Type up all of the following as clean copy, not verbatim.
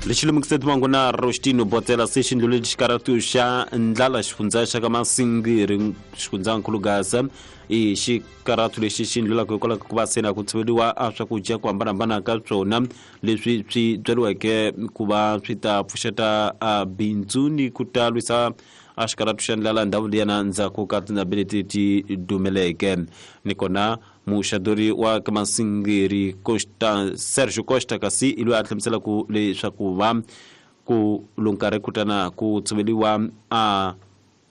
Lexi lemukiseti mangu na Rostino Botela se xi ndluleli xikaratu xa ndlala xifundza xa ka Masingiri xifundzankulu Gaza i xikaratu lexi xi ndlulaka hikwalaho ka ku va se na ku tshoveriwa a swakudya ku hambanahambana ka swona leswi swi byariweke ku va swi ta pfuxeta a bindzu ni ku ta lwisa a xikaratu xa ndlala ndhawu liyana ndzhaku ka tindhambi leti ti dumeleke. Ni kona muxadori wa ka Masingiri Costa Sergio Costa kasi i loyi a hlamuselaka leswaku va ku lonkarhi kutana ku tshoveriwa a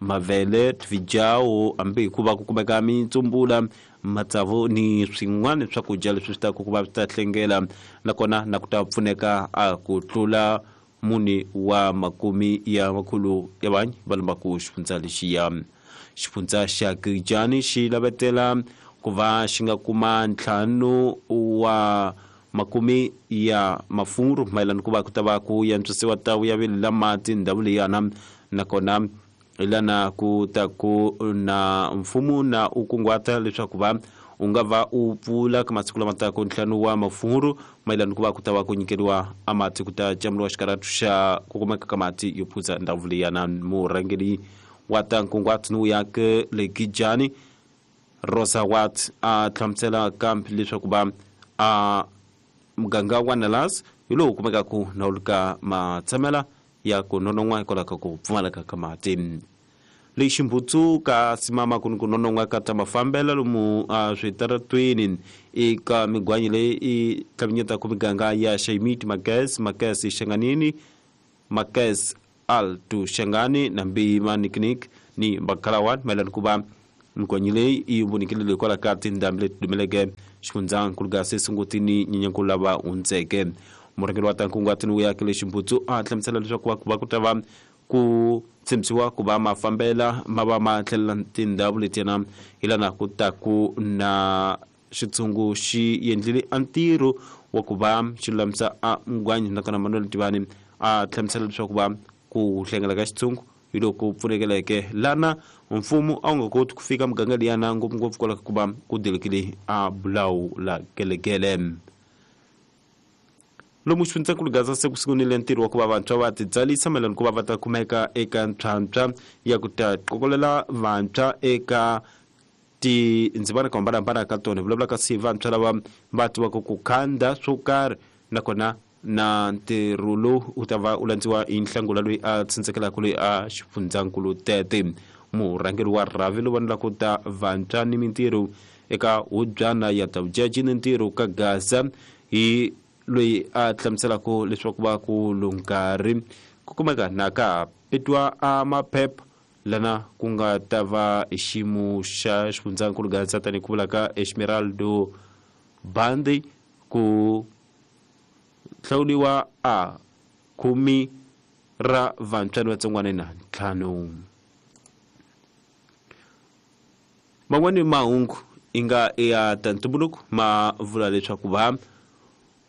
mavele tvijawo hambi hikuva ku kumeka mitsumbula matsavu ni swin'wana swakudya leswi swi ta ku va swi ta hlengela nakona na ku ta pfuneka a ku tlula mune wa makumi ya makhulu ya vanhu va lombaku xifundza lexiya. Xifundza xa Gijani xi lavetela ku va xi nga kuma 5 wa makumi ya mafuru mayelana ku va ku ta va ku yantswisiwa tawu ya vele la mati ndhawu leyana nakona lana ku ta ku na mfumo na u kunguhata leswaku va u nga va u pfula ka masiku lama taka 5 wa mafuru mayelana ku va ku ta va ku nyikeriwa a mati ku ta camuriwa xikaratu xa ku kumeka ka mati yo phuza ndhawu leyana. Murhangeri wa ta nkunguhato ni uyake le Gijani Rosa Watt a hlamusela kambe leswaku va a muganga wa Nalas hi lowu kumekaka na wu ka matshamela ya ku nonon'wa hikwalaho ka ku pfumaleka ka mati. Lexi mbutsu ka simama ku ni ku nonon'wa ka ta mafambelo lomu a switaratweni eka migwanyi leyi i tlhavinyetaka miganga ya Xayimiti, Magesi, Magesi Xanganini, Magesi Alto Xangani na Mbima Nikinik ni Bakalawan mayelana ku va migwanyi leyi yi vonikile hikwalaho ka tindhambi leti dumeleke xifundzankulu Gase Sunguti ni Nyenyankulu lava hundzeke. Murhangeri wa ta nkunguhato ni vuyaki lexi mbutsu a hlamusela leswaku va ku va ku ta va ku tshembisiwa ku va mafambela ma va ma tlhelela tindhawu letiyana hi lana ku ta ku na xitshungu xi endlile a ntirho wa ku va xi lulamisa a mugwanyi nakona Manuel Tivani a hlamusela leswaku va ku hlengela ka xitshungu hi loko pfunekeleke lana mfumo a wu nga koti ku fika muganga liyana ngopfungopfu kwalaho ka ku va ku dilekile a bulawu la gelegele. Lomu xifundzankulu Gaza se ku sungunile ntirho wa ku va vantshwa va titsalisa mayelana ku va va ta kumeka eka ntlhantlha ya ku ta qokolela vantshwa eka tindzimana ku hambanahambana ka tona. Hi vulavula kasi vantshwa lava va tivaka ku khanda swo karhi nakona na ntirho lowu wu ta va wu landziwa hi Nhlangula loyi a tsendzekelaka loyi a xifundzankulu tete. Murhangeri wa rhavi lowu vonelaka ta vantshwa ni mintirho eka hubyana ya ta vujaji ni ntirho ka Gaza hi loyi a hlamuselaka leswaku va ku lunkarhi ku kumeka na ka petwa a maphepha lana ku nga ta va hi xiyimo xa xifundzankulu Gaza tanihi ku vula ka Esmeraldo Bandi ku hlawuriwa a 10 ra vantshwa ni vatsongwana na 5. Man'wani mahungu i nga ya ta ntumbuluko ma vula leswaku va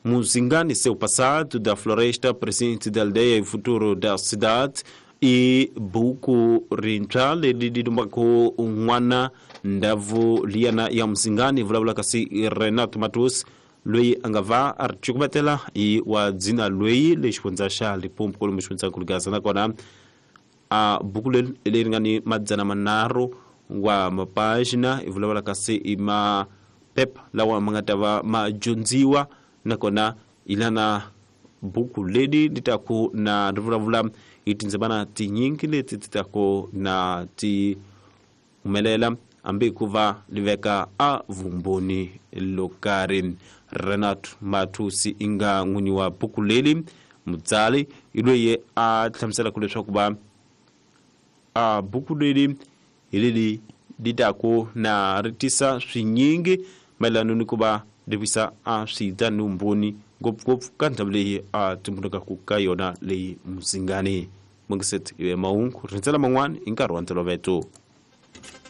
Muzingani seu passado da floresta presente da aldeia e futuro da cidade i buku rintshwa leri ri lumbaku n'wana ndhavu liyana ya Muzingani vulavula kasi Renato Matos loyi a nga va a ri cukumetela hi wa dzina loyi le xifundza xa Limpopo kwalomu xifundzankulu Gaza nakona a buku leri leri nga ni 300 wa mapagina i vulavula kasi i maphepha lawa ma nga ta va ma dyondziwa nakona hi lana buku leri li ta ku na ri vulavula hi tindzimana tinyingi leti ti ta ku na ti humelela hambi ku va li veka a vumbhoni lo karhi. Renato Matusi i nga n'winyi wa buku leri mutsari i loyi a hlamuselaka leswaku va a buku leri hi leri li ta ku na ri tisa swinyingi mayelana ni ku va ri visa a swita ni vumbhoni ngopfungopfu ka ndhawu leyi a tumbulukaka ka yona leyi Muzingani. Mungiset iwe mahungu rindzela man'wana hi nkarhi wa ntolovelo.